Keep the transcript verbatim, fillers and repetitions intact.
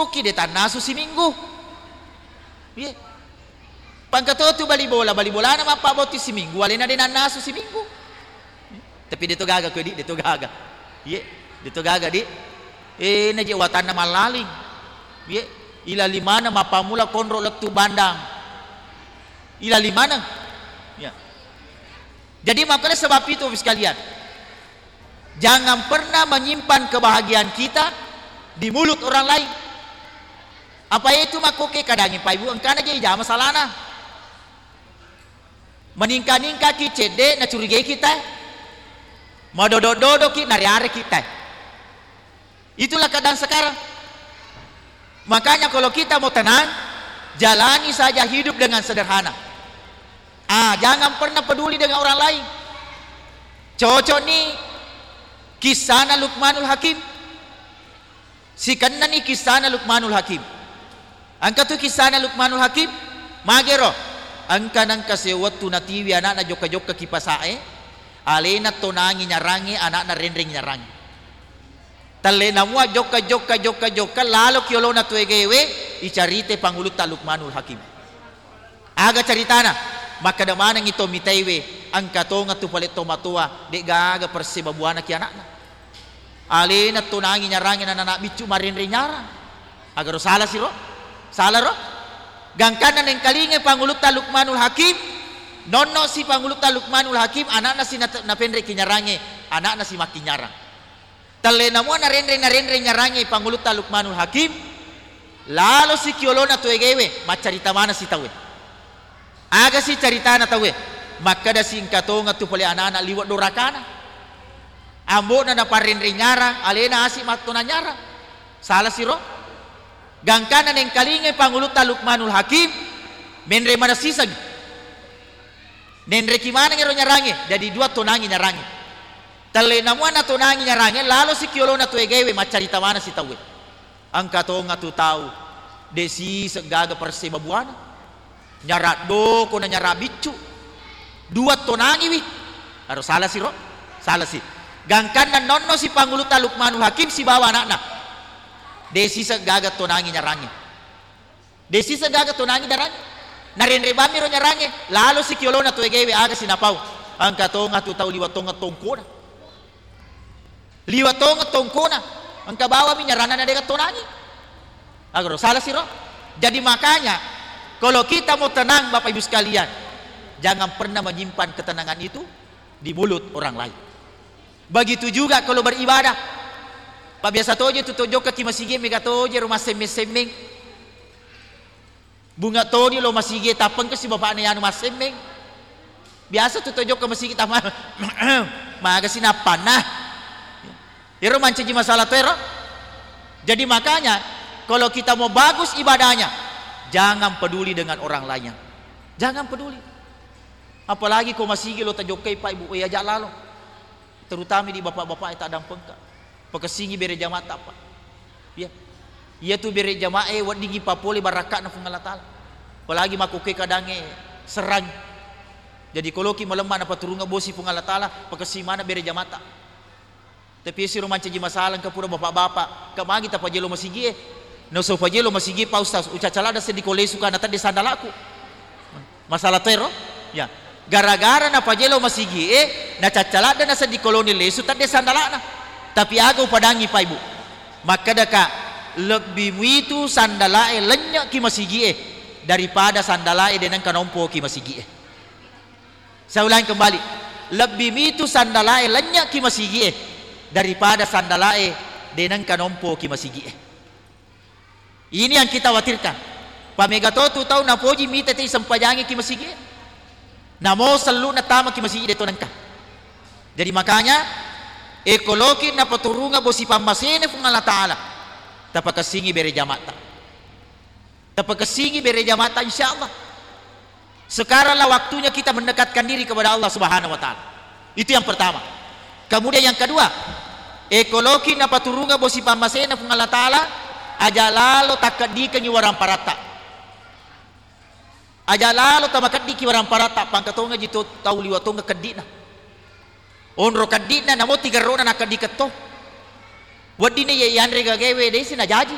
ki de' tannasu siminggu. Iye. Pangka to tu bali bola, bali bolana mappabbotting siminggu, alena de' nannasu siminggu. Tapi de' to gaga ko, Di', de' to gaga. Iye, de' to gaga, Di'. Eh, naje watanna mallaling. Iye, ilaling maneng mappammula konro lettu bandang. Ilaling maneng. Ya. Jadi, makanya sebab itu, Bapak sekalian, jangan pernah menyimpan kebahagiaan kita di mulut orang lain. Apa itu makkoke kadangi Pak Ibu, engkana je ijama salana. Meningka-ningkaki cedde, nacurigai kita. Madodo-dodoki, nariare kita. Itulah keadaan sekarang. Makanya kalau kita mau tenang, jalani saja hidup dengan sederhana. Ah, jangan pernah peduli dengan orang lain. Cocok nih kisahna Luqmanul Hakim. Sikenna nih kisahna Luqmanul Hakim. Engka tu kisahna Luqmanul Hakim, magero. Engka nengka sewettu natiwi anakna jokka-jokka ki pasa'e, alena tonangi nyarangnge, anakna renreng nyarangnge. Tellena mua jokka, jokka, jokka, jokka, lalo ki olona tuegewe, icaritai pangulutta Luqmanul Hakim. Aga caritana? Makkeda manengngi to mitaiwe, engka tongeng tu pale tomatoa, de'gaga persebabuana ki anakna. Alena tonangi nyarangnge, nana biccu marenreng nyarang. Agaro sala siro? Sala ro? Gangkanna nengkalingai pangulutta Luqmanul Hakim, nonno si pangulutta Luqmanul Hakim, anakna si nat-, napenreki nyarangnge, anakna si makkinyarang. Tellena mua narenreng, narenreng nyarangnge pangulutta Luqmanul Hakim, lalo si ki olona tuegewe, maccarita maneng si tauwe. Aga si caritana tauwe? Makkeda si engka tongeng tu pole anak-anak liwe' dorakana. Ambo'na naparrenreng nyarang, alena asi mattonang nyarang. Sala siro? Gangkanna nengkalingai pangulutta Luqmanul Hakim, menre maneng siseng. Nenreki maneng ero nyarangnge, jadi dua tonangi nyarangnge. Tellena mua natonangi nyarangnge, lalo si ki olona tuegewe, maccarita maneng si tauwe. Engka tongeng tu tau, de' siseng gaga persebabuana. Nyarang doko na nyarang biccu. Dua tonangiwi. Aro sala siro? Sala si. Gangkanna nonno si pangulutta Luqmanul Hakim sibawa anakna. De' siseng gaga tonangi nyarangnge. De' siseng gaga tonangi nyarangnge. Narenreng bammi ro nyarangnge, lalo si ki olona tuegewe, aga si napau? Engka tongeng tu tau liwe' tongeng tongkona. Liwe' tongeng tongkona, engka bawammi nyaranna na de'ga tonangi. Agaro sala siro? Jadi makanya, kalau kita mau tenang, Bapak Ibu sekalian, jangan pernah menyimpan ketenangan itu di mulut orang lain. Begitu juga kalau beribadah. Pak, biasa toje tu tojokka ki masigi, mega toje ro massemmeng-semmeng. Bunga toni lo masigi, tappengka si bapakna yanu massemmeng. Biasa tu tojokka masigi tama, maga si nappanna. Ero mancaji masalah to ero. Jadi makanya, kalau kita mau bagus ibadahnya, jangan peduli dengan orang lainnya. Jangan peduli. Apalagi ko masigi lo tajokkai, Pak, Ibu, eh, aja lalo. Terutama di bapak-bapak e taddampengka. Pakessingi bere jama'ta, Pak. Iya. Iyatu bere jamaah e weddingngi papole barakka'na Puang Allah Taala. Apalagi makkukue kadangnge serrang. Jadi koloki malemma napaturunga bosi Puang Allah Taala, pakessingi maneng bere jama'ta. Tapi esiro mancaji masalah engka pura bapak-bapak, ka magi tapajelo masigi e. Naso pajelo masigi, Pak Ustaz, ucaca ladde seddi ko lesu ka natedde sandalaku. Masalah to ero? Ya. Gara-gara napajelo masigi e, nacacca ladde naseddi koloni lesu tedde sandalana. Tapi aga upadangi, Pak, Ibu? Makkedaka, lebbi muitu sandalae lennyeki masigi e daripada sandalae de nengka nompoki masigi e. Saya ulangi kembali, lebbi mitu sandalae lennyeki masigi e daripada sandalae de nengka nompoki masigi e. Ini yang kita khawatirkan. Pamega to tu tau napoji mita te sempajangi ki masigi e. Namo sellu na tama ki masigi de to nengka. Jadi makanya, ekoloki napaturunga bosi pammasene Puang Allah Taala. Tapakessingi bere jama'ta. Tapakessingi bere jama'ta, insya Allah. Sekaranglah waktunya kita mendekatkan diri kepada Allah Subhanahu wa Ta'ala. Itu yang pertama. Kemudian yang kedua, ekoloki napaturunga bosi pammasena Puang Allah Taala, aja lalo takkeddikengi waramparatta. Aja lalo tamakeddiki waramparatta, pangkatongaji to tau liwa tonga keddina. Onro keddi'na namo tigerrona nakkeddiketto. Weddinna iye yanre gagaewe desi najaji.